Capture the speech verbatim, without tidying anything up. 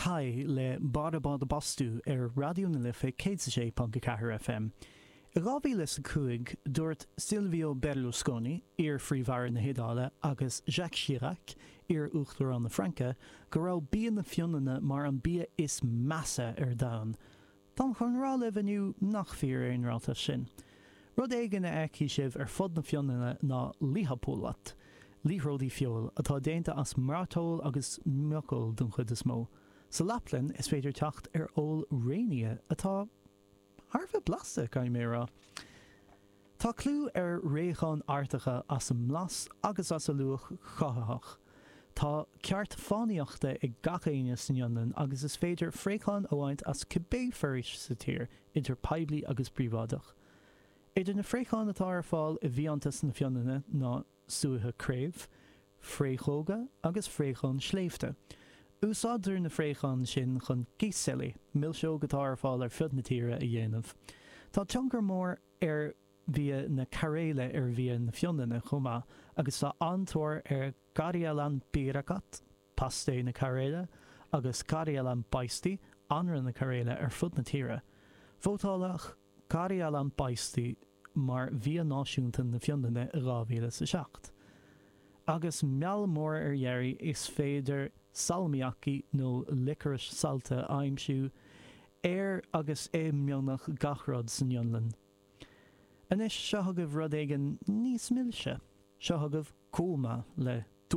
Kai le Bara Báda Bastu ar Raidió na Life céad a sé ponc a ceathair FM. I dhá mhíle is a cúig, dúirt Silvio Berlusconi, iar-Phríomh-Aire na hIodáile, agus Jacques Chirac, iar-Uachtarán na Fraince, go raibh bia na Fionlainne mar an bia is measa ar domhan. Táim chun rá libh inniu nach fíor é an ráiteas sin. Rud éigin a fheicfidh sibh ar fud na Fionlainne ná lihapullat, liathróidí feoil, atá déanta as mairteoil agus muiceoil den chuid is mó. Sa Laplainn is féidir teacht ar fheoil réinfhia atá thar a bheith blasta, caithfidh mé a rá. Tá clú ar fhraocháin Artacha as a mblas agus as a luach cothaitheach. Tá ceart fánaíochta ag gach éinne san Fhionlainn agus is féidir fraocháin a bhaint as cibé foraois sa tír, idir poiblí agus príobháideach. Idir na fraocháin atá ar fáil i bhfiántas na Fionlainne ná súiche craobh, fraochóga agus fraocháin sléibhte. Úsáidtear na fraocháin sin chun kiseli, milseog atá ar fáil ar fud na tíre, a dhéanamh. Tá tionchar mór ar bhia na Cairéile ar bhia na Fionlainne chomh maith agus tá an-tóir ar karjalanpiirakat, pasté na Cairéile, agus karjalanpaisti, anraith na Cairéile, ar fud na tíre. Vótáladh karjalanpaisti mar bhia náisiúnta na Fionlainne i dhá mhíle is a seacht. Agus meall mór ar deireadh, is féidir salmiakki nó liocórais saillte a aimsiú ar agus i mbeagnach gach rud san Fhionlainn. Anois, seo chugaibh rud éigin níos milse. Seo chugaibh Kuuma le